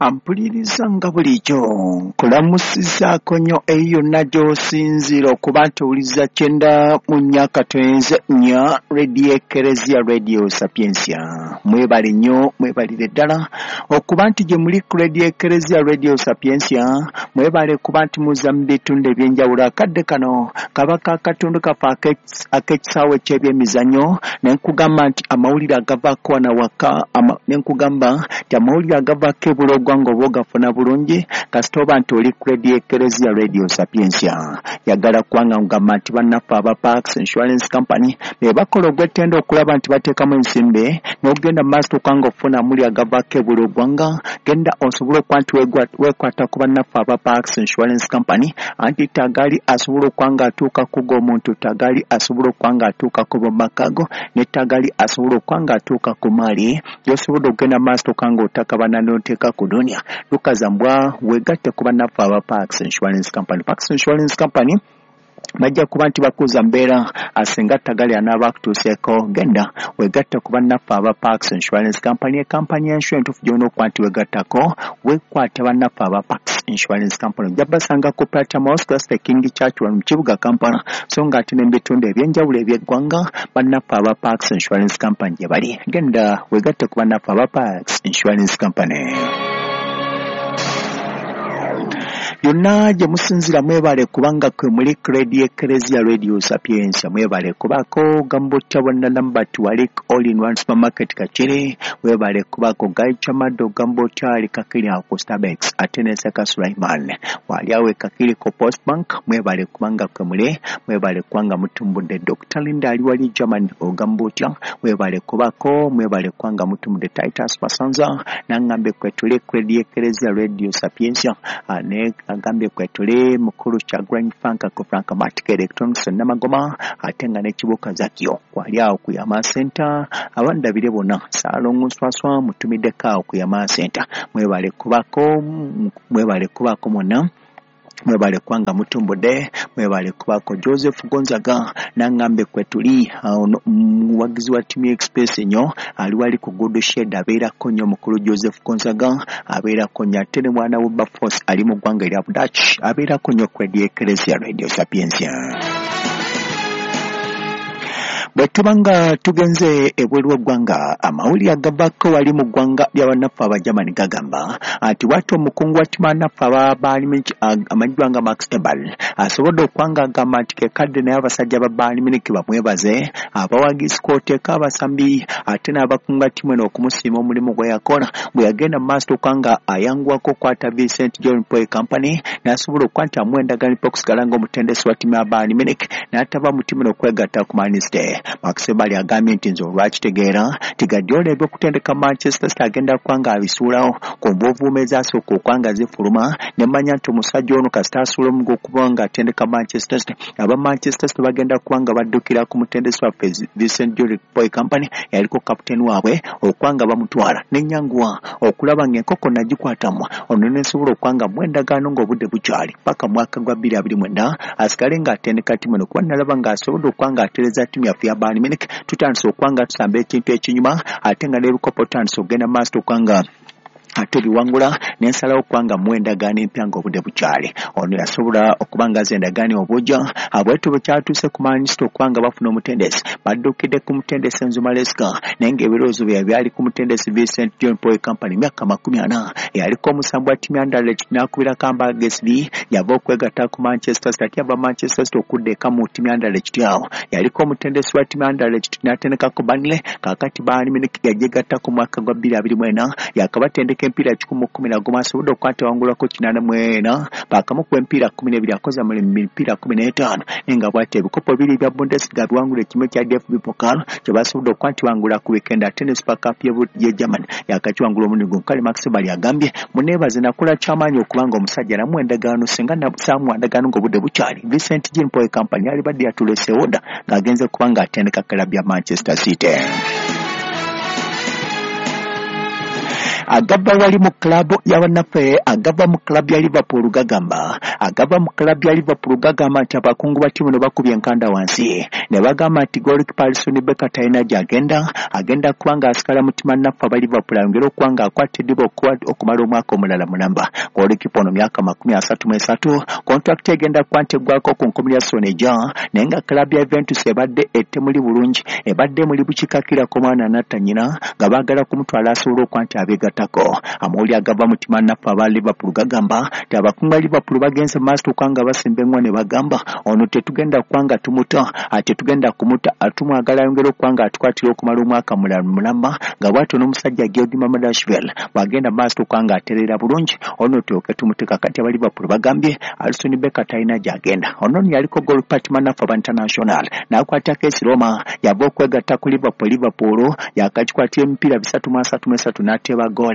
Ampuliriza nga bulijjo nkulamusizaako nnyo eyo yonna gy'osinziira okuba nti owuliriza 94.4 Radio Ekereziya Radio Sapientia. Mwebale nnyo, mwebalire ddala okuba nti gye muli ku Radio Ekereziya Radio Sapientia, mwebale kuba nti muzza mu bitundu eby'enjawulo. Akadde kano kaba ka katundu kaffe ak'ekisaawe ky'ebyemizannyo, ne nkugamba nti amawulire agavaako wano awaka, ne nkugamba nti amawulire agavaako ebula ogwanga oba ogafuna bulungi kasita oba nti oli ku Radio Ekereziya Radio Sapientia. Yagala kubanga nkugamba nti bannaffe aba Parks Insurance Company be bakola ogw'ettendo okulaba nti bateekamu ensimbi n'ogenda mu maaso okubanga ofuna amawulire agavaako ebula ogwanga, genda osobole okuba nti weekwata ku bannaffe aba Parks Insurance Company, anti tagali asobola okuba nga atuuka ku g'omuntu, tagali asobola okuba nga atuuka ku b'omu maka go, ne tagali asobola okuba nga atuuka ku maali gy'osobodde okugenda mu maaso okuba nga otakabana n'oteeka ku dunia. Lukazambwa weegatte ku bannaffe aba Parks Insurance Company. Parks Insurance Company bajja kuba nti bakuza mbeera asinga tagali anaaba akutuuseeko. Genda weegatte ku bannaffe aba Parks Insurance Company, ekampani y'ensure entuufu gy'olina okuba nti weegattako. Weekwate bannaffe aba Parks Insurance Company, ojja basanga ku Platinum House Cluster King Church wano mu kibuga Kampala, so nga ate n'ebitundu eby'enjawulo eby'eggwanga bannaffe aba Parks Insurance Company gye bali. Genda weegatte ku bannaffe aba Parks Insurance Company. Yonna gye musinziira mwebale kubanga kwe muli ku Radio Ekereziya Radio Sapientia, mwebale kubaako Gambotya bonna Lambert wali All in One Supermarket Kakiri, webale kubaako Guy Chamado Gambotya ali Kakiri awo ku Starbucks, ate ne Seka Sulaiman wali awo e Kakiri ku Post Bank, mwebale kubanga kwe muli, mwebale kubanga mutumbudde. Dr. Linda ali wali German Ogambotya, webale kubaako, mwebale kubanga mutumbudde. Titus Masanza nangambe kwe tuli ku Radio Ekereziya Radio Sapientia, ne agambye kwe tuli mukulu Kyagulanyi Frank ku Frank Matic Electronics Namagoma, ate nga n'ekibuka Zakio kwali awo ku Yama Center. Abandabire bonna Saalongo Nswaswa mutumiddeko awo ku Yama Center, mwebale kubaako, mwebale kubaako mwonna, mwebale kubanga mutumbudde, mwebale kubaako. Joseph Gonzaga nangambe kwe tuli, muwagizi wa Team Express nnyo, ali wali ku Good Shed abeerako nnyo mukulu Joseph Gonzaga abeerako nnyo, ate ne mwana Wilberforce ali mu ggwanga erya Dutch abeerako nnyo ku Radio Ekereziya Radio Sapientia. Bwe tuba nga tugenze ebweru w'eggwanga, amawulire agavaako wali mu ggwanga lya bannaffe Abajamani gagamba nti bw'atyo omukungu wa ttiimu bannaffe aba Bayern Munich amanyiddwa nga Max Eberl asobodde okuba nga agamba nti ke kadde naye abasajja ba Bayern Munich bamwebaze, abawagizi kw'oteeka abasambi ate n'abakunga ttiimu eno okumusiima omulimu gwe yakola bwe yagenda mu maaso okuba nga ayanguwako okukwata Vincent John Paul Company n'asobola okuba nti amuwa endagaano okusigala ng'omutendesi wa ttiimu ya Bayern Munich n'atava mu ttiimu eno okwegatta ku Man City. Max Eberl agambye nti nze olwakitegeera nti Guardiola eby'okutendeka Manchester City agenda kuba nga abisuulawo ku nvuuvuumo ezasooka okuba nga zifuluma, ne mmanya nti omusajja ono kasita asuula omugo okuba nga atendeka Manchester City, aba Manchester City bagenda kuba nga baddukira ku mutendesi waffe Vincent John Paul Company yaliko kapiteeni waabwe okuba nga bamutwala. Nenyanguwa okulaba ng'enkoko nagikwatamu ono ne nsobola okuba nga muwa endagaano ng'obudde bukyali paka mwaka gwa 2029 asigale ng'atendeka ttiimu eno, kuba nalaba ng'asobodde okuba ng'atereeza ttiimu yaffe ya Bayern Munich. Tutandise okuba nga tusamba ekintu ekinyuma ate nga n'ebikopo tutandise okugenda mu maaso okuba nga ate biwangula, ne nsalawo okuba nga muwa endagaano empya ng'obudde bukyali. Ono yasobola okuba nga aza endagaano obujja. Bwetyo bwe kyatuuse ku Man City okuba nga bafuna omutendesi, baddukidde ku mutendesi Enzo Maresca, naye ng'ebirowoozo byabwe byali ku mutendesi Vincent John Paul Company, myaka 40, yaliko omusambi wa ttiimu ya Anderlecht n'akubirako Hamburg SV, yava okwegatta ku Manchester City, ate yava Manchester City okudda eka mu ttiimu ya Anderlecht. Awo yaliko omutendesi wa ttiimu ya Anderlecht n'atendekako Burnley. Kaakati Bayern Munich yagyegatta ku mwaka gwa 2024, yakabatendeka emipiira 111, asobodde okuba nti awangulako 84, baakamukuba emipiira 12, akoze mu mipiira 15, naye nga bw'atyo ebikopo bibiri ebya Bundesliga biwangula, ekimu ekya DFB Pokal kye basobodde okuba nti bangula ku weekend, ate ne Super Cup ye Germany yakakiwangula omulundi gumu. Kale Max Eberl agambye muneebaze, nakola kyamaanyi okuba nga omusajja namuwa endagaano, singa saamuwa ndagaano ng'obudde bukyali, Vincent Jean Paul Company yalibadde yatuleseewo dda ng'agenze kuba ng'atendeka club ya Manchester City. Agava wali mu club y'abannaffe, agava mu club ya Liverpool gagamba, agava mu club ya Liverpool gagamba nti abakungu ba ttiimu ne bakubye enkanda wansi ne bagamba nti goalkeeper Alisson Becker talina gy'agenda, agenda kuba ng'asikala mutima naffe aba Liverpool ayongere okuba ng'akwata eddiba okumala omwaka omulala mulamba. Goalkeeper ono myaka 33, contract egenda kuba nti eggwako ku nkomerero ya season ejja, naye nga club ya Juventus ebadde etemuli bulungi, ebadde muli bukikakirako mwana anatta nnyina nga baagala kumutwala asobole okuba nti abeegattako. Amawulire agava mu ttiimu naffe aba Liverpool gagamba nti abakungu ba Liverpool bagenze mu maaso okuba nga basimba eŋŋwa ne bagamba ono tetugenda kuba nga tumuta, tetugenda kumuta, tumwagala ayongere okuba nga atukwatira okumala omwaka mulala mulamba, nga bw'atyo n'omusajja Giorgi Mamardashvili bw'agenda mu maaso okuba nga atereera bulungi, ono tulyoke tumuteeka. Kati aba Liverpool bagambye Alisson Becker talina gy'agenda. Ono nno yaliko goalkeeper ttiimu naffe aba International n'akwatako AS Roma, yava okwegatta ku Liverpool, Liverpool yakagikwatira emipiira 333 n'ateeba ggoole.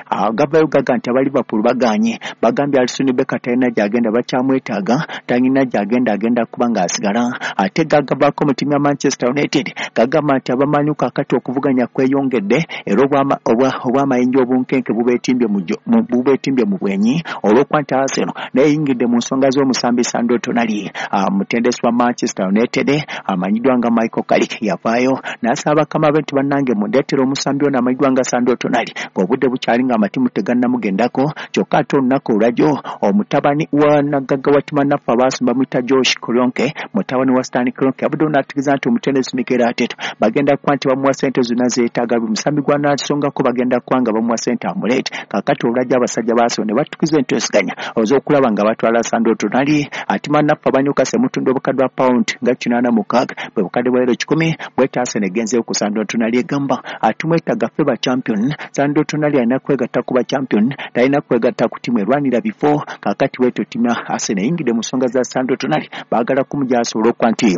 Agavayo gaga nti aba Liverpool bagaanye, bagambye Alisson Becker talina gy'agenda, bakyamwetaaga, talina gy'agenda, agenda kuba ng'asigala. Ate gagavaako mu ttiimu ya Manchester United gagamba nti abamanyi kaakati okuvuganya kweyongedde era obw'amayinja obunkenke bubeetimbye mu bwenyi olw'okuba nti Arsenal naye eyingidde mu nsonga z'omusambi Sandro Tonali. Mutendesi wa Manchester United amanyiddwa nga Michael Carrick yavaayo n'asaba bakama be nti bannange mundeetere omusambi ono amanyiddwa nga Sandro Tonali ng'obudde bukyali ng'amatimu tegannamugendako. Kyokka ate olunaku olwajjo omutabani wa nagagga wa ttiimu naffe abaasumba bamuyita Josh Kroenke, mutabani wa Stan Kroenke, yavuddeyo n'ategeeza nti omutendesi Mikel Arteta bagenda kuba nti bamuwa ssente zonna zeetaaga, buli musambi gw'anaasongako bagenda kuba nga bamuwa ssente amuleete. Kaakati olwajjo abasajja ba Arsenal ne batukiza enteeseganya ez'okulaba nga batwala Sandro Tonali. Ate naffe aba Newcastle emutunda obukadde bwa pound nga 86, bwe bukadde bwa euro 1,000, bw'ete Arsenal egenzeeyo ku Sandro Tonali egamba atumwetaaga ffe ba champion. Sandro Tonali alina kwegatta ku ba champion, talina kwegatta ku ttiimu erwanira bifo. Kaakati bw'etyo ttiimu ya Arsenal eyingidde mu nsonga za Sandro Tonali, baagala kumugya asobole okuba nti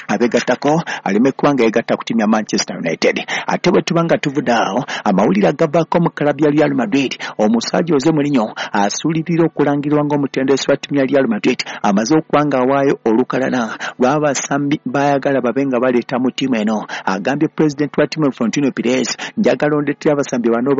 abeegattako aleme kuba nga yeegatta ku ttiimu ya Manchester United. Ate bwe tuba nga tuvudde awo, amawulire agavaako mu club ya Real Madrid, omusajja Jose Mourinho asuulirira okulangirirwa ng'omutendesi wa ttiimu ya Real Madrid amaze okuba nga awaayo olukalala lw'abasambi baayagala babe nga baleeta mu ttiimu eno. Agambye pulezidenti wa ttiimu Florentino Perez, njagala ondeetera abasambi bano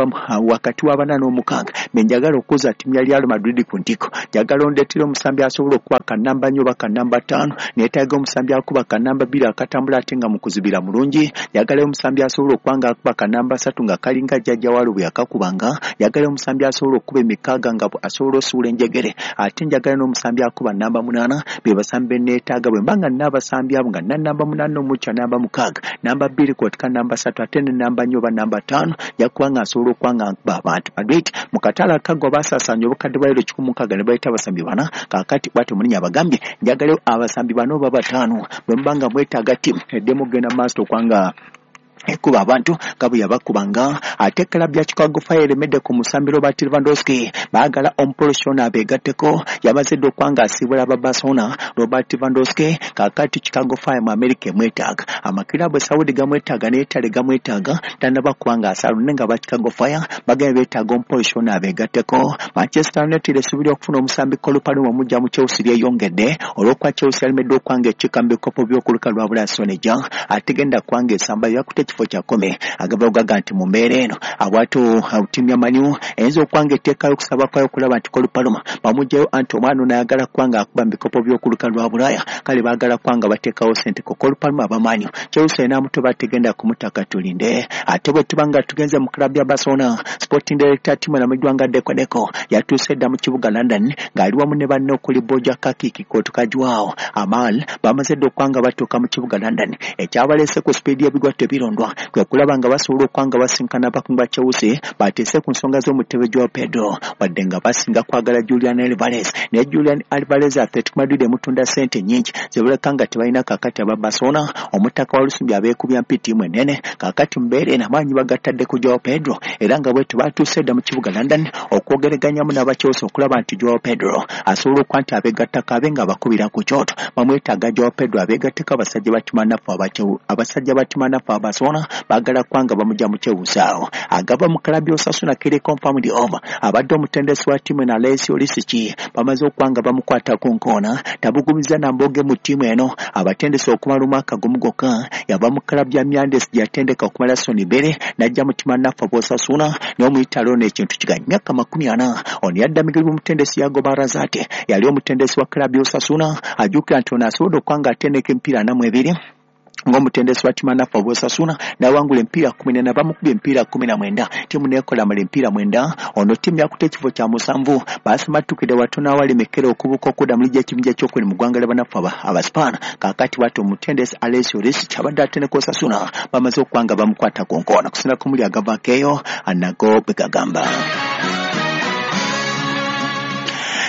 wakati wa 4 n'6 be njagala okuza ttiimu ya Real Madrid ku ntikko. Njagala ondeetera omusambi asobola okuba kannamba 4 oba kannamba 5, neetaaga omusambi akuba kannamba 2 akatambula ate nga mukuzibira mulungi. Njagalayo omusambi asobola okuba nga akuba kannamba 3 nga kalinga jjajja waalo bwe yakakubanga. Njagalayo omusambi asobola okukuba emikaaga nga asobola osuula enjegere. Ate njagala n'omusambi akuba namba 8, be basambi be neetaaga. Bwe mba nga nina abasambi abo nga nina namba 8 n'omukya namba 6, namba 2 kw'oteeka namba 3 ate ne namba 4 oba namba 5, nja kuba nga nsobola okuba nga nkuba abantu. Madrid mu katale akaggwa baasaasaanya obukadde bwa euro 160 ne baleeta abasambi 4. Kaakati bw'atyo Mourinho abagambye njagalayo abasambi 4 oba 5 bwe muba nga mwetaaga ttiimu eddemu okugenda mu maaso okuba nga ekuba abantu nga bwe yabakubanga. Ate club ya Chicago Fire eremedde ku musambi Robert Lewandowski, baagala omupolisi ono abeegatteko. Yamaze dda okuba ng'asiibula aba Barcelona Robert Lewandowski. Kaakati Chicago Fire mu America emwetaaga, amakiraabu e Saudi gamwetaaga ne Italy gamwetaaga, tannaba kuba ng'asaala naye nga aba Chicago Fire bagenda beetaaga omupolisi ono abeegatteko. Manchester United esuubira okufuna omusambi Cole Palmer omuggya mu Chelsea lyeyongedde olw'okuba Chelsea yalemeddwa okuba ng'ekiika mu bikopo by'okuluka lwa Bulaya season ejja, ategenda kuba ng'esamba yakutte ekifo kya kkumi. Agava gaga nti mu mbeera eno abwatyo ttiimu ya Man U eyinza okuba ng'eteekayo okusaba kwayo okulaba nti Cole Palmer bamuggyayo, anti omwana ono ayagala kuba ng'akuba mu bikopo by'okuluka lwa Bulaya, kale baagala kuba nga bateekawo ssente ku Cole Palmer aba Man U. Chelsea enaamutoba tegenda kumutaka, tulinde. Ate bwe tuba nga tugenze mu club ya Barcelona, sporting director ttiimu emamanyiddwa nga Deco Deco yatuuse dda mu kibuga London ng'ali wamu ne banne okuli Borja Kakiki Kotokajwao Amal, bamaze dda okuba nga batuuka mu kibuga London. Ekyabaleese ku sipiidi y'ebigwa tebirondwa kwe kulaba nga basobola okuba nga basinkana abakungu ba Chelsea bateese ku nsonga z'omutebe Joao Pedro, wadde nga basinga kwagala Julian Alvarez, naye Julian Alvarez Atletico Madrid emutunda ssente nnyingi zebaleka nga tebalina. Kaakati aba Barcelona omutaka wa Lusumbi abeekubya mpi ttiimu ennene. Kaakati mu mbeera eno amaanyi bagatadde ku Joao Pedro, era nga bwetyo batuuse dda mu kibuga London okwogereganyamu n'aba Chelsea okulaba nti Joao Pedro asobola okuba nti abeegattako abe nga abakubira ku kyoto. Bamwetaaga Joao Pedro abeegatteko. Abasajja ba ttiimu naffe aba Barcelona baagala kuba nga bamugya mu Chelsea awo. Agava mu club ya Osasuna kiri confirmed over, abadde omutendesi wa ttiimu eno Alessio Lisicki bamaze okuba nga bamukwata ku nkoona, tabugumiza na mboge mu ttiimu eno abatendesi okumala omwaka gumu gwokka. Yava mu club ya Mirandes gye yatendeka okumala season 2 n'ajja mu ttiimu naffe aba Osasuna. N'omuyitalo n'ekintu kiganya myaka 40. Ono yaddamigirwa omutendesi Yagoba Arrasate, yali omutendesi wa club Osasuna. Ajjukira nti ono asobodde okuba nga atendeka emipiira 42 ng'omutendesi wa ttiimu anaffe Osasuna, n'awangula emipiira 14, bamukubye emipiira 19, ttiimu n'ekola mala emipiira 9. Ono ttiimu yakutte ekifo kya 7, baasimattukidde watono awalemekera okubuuka okudda mu liigi y'ekibinja ekyokubiri mu ggwanga ly'abannaffe Abaspaana. Kaakati bw'atyo omutendesi Alessio Risic abadde atendeka Osasuna bamaze okuba nga bamukwata ku nkoona kusinziira ku muli agavaako eyo nago bwe gagamba.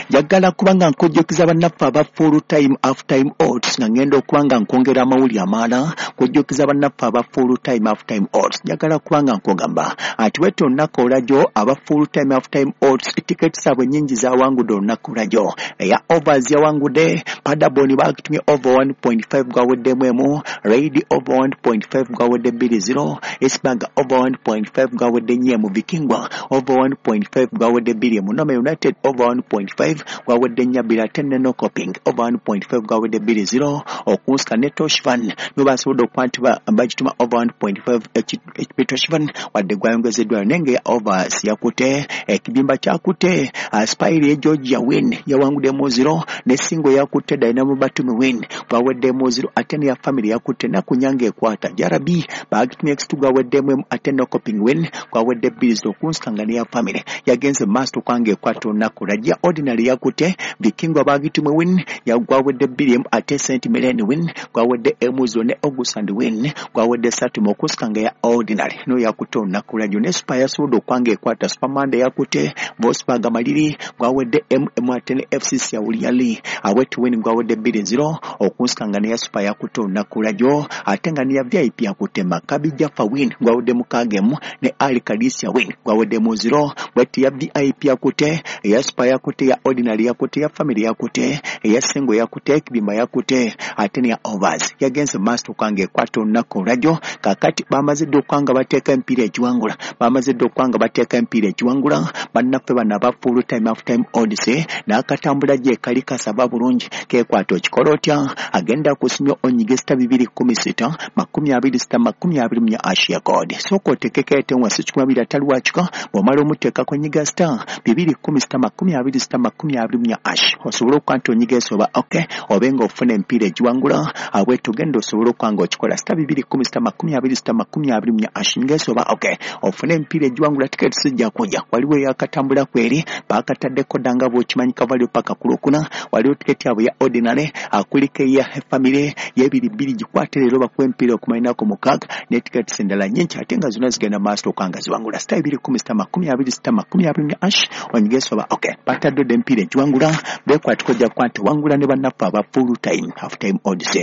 Njagala kuba nga nkujjukiza bannaffe aba full time half time odds, nga ngenda okuba nga nkwongera amawulire amalala. Kujjukiza bannaffe aba full time half time odds, njagala kuba nga nkugamba ati bwetyo olunaku olwajjo aba full time half time odds tiketi zaabwe nnyingi zawangudde olunaku olwajjo. Eya overs yawangudde Paderborn, bagitumye over 1.5 gwaweddemu 1, Raid over 1.5 gwawedde 2-0, Esbjerg over 1.5 gwawedde 4, Vikingwa over 1.5 gwawedde 2, Nome United over 1.5 gwawedde 4-2, ate ne Norrköping over 1.5 gwawedde 2-0. Okunsika ne Torshavn no basobodde okuba nti bagituma over 1.5 Torshavn wadde gwayongezeddwayo, naye nga eya overs yakutte ekibimba kyakutte Spire ye Georgia win yawanguddemu 0, ne Singo yakutte Dynamo Batumi win gwaweddemu 0, ate neya family yakutte Nakunyanga ekwata JRB bagitumye X2 gwaweddemu 1, ate Norrköping win gwawedde 2-0. Okunsika nga neya family yagenze maaso okwanga ekwata olunaku lwajja. Ordinary yakutte Vikingwa bagitumwe win yagwawedde 2, ate St Mirren win gwawedde 1-0, ne Ogersunds win gwawedde 3. Okusika nga ya ordinary no yakutte olunaku lwajjo. Ne Super yasobodde okwanga ekwata Super Monday yakutte Wolfsburg Maliri gwawedde 1, ate ne FCC Yawulyali awet win gwawedde 2-0. Okunsika nga neya Super yakutte olunaku lwajjo, ate nga neya VIP yakutte Maccabi Jaffa win gwawedde 6, ne Al Qadisiyah win gwawedde 0. Bweti ya VIP yakutte, eya Super yakutte, ya ordinary yakutte, ya family yakutte, eya single yakutte, ekibimba yakutte, ate neya overs yagenze maaso okwanga ekwata olunaku olwajjo. Kaakati bamaze dda okuba nga bateeka emipiira egiwangula, bamaze dda okuba nga bateeka emipiira egiwangula bannaffe bano aba full time half time odds. N'akatambula gye kali kasaba bulungi kekwata. Okikola otya? Agenda kusimya onyige star 216 26 24 hash ya code. Sooka otekeko ete wansi 200 atali wakika. Bw'omala omuteekako, nyiga star 216 26 24 hash, osobole okuba nti onyiga esoba ok, obe nga ofuna emipiira egiwangula. Abwetu genda osobole okuba nga okikola star 216 26 24 hash, nyiga esoba ok, ofune emipiira egiwangula. Tiketi sijja kujja, waliwo eyakatambula kweri bakataddeko dda nga bw'okimanyi kavalio paka ku Lwokuna. Waliwo tiketi yabwe ya ordinary, akuliko eya family y'ebiri 2, gikwate leero bakuwa emipiira okumala ennaku 6, ne tiketi endala nnyingi, ate nga zonna zigenda maaso okuba nga ziwangula. Star 216 26 24 hash, onyige esoba ok, batadde dda emipiira egiwangula. Bekwatiko ojja kuba nti wangula ne bannaffe aba full time half time odds.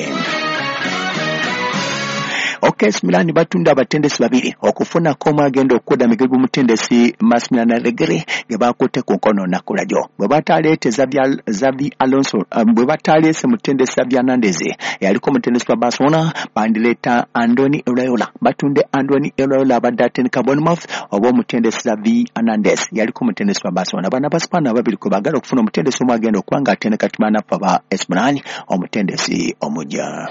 AC Milan batunda abatendesi babiri okufunako omu agenda okudda migeri gw'omutendesi Massimiliano Allegri ge bakutte ku nkono olunaku lwajjo. Bwe bataleete Xabi Alonso, bwe bataleese mutendesi Xavi Hernandez eyaliko omutendesi wa Barcelona, bandireeta Andoni Iraola. Batunde Andoni Iraola abadde atendeka Bournemouth oba omutendesi Xavi Hernandez yaliko omutendesi wa Barcelona. Bano Abaspaana ababiri kwe baagala okufuna omutendesi omu agenda okuba nga atendeka ttiimu anaffe aba AC Milan, omutendesi omujja.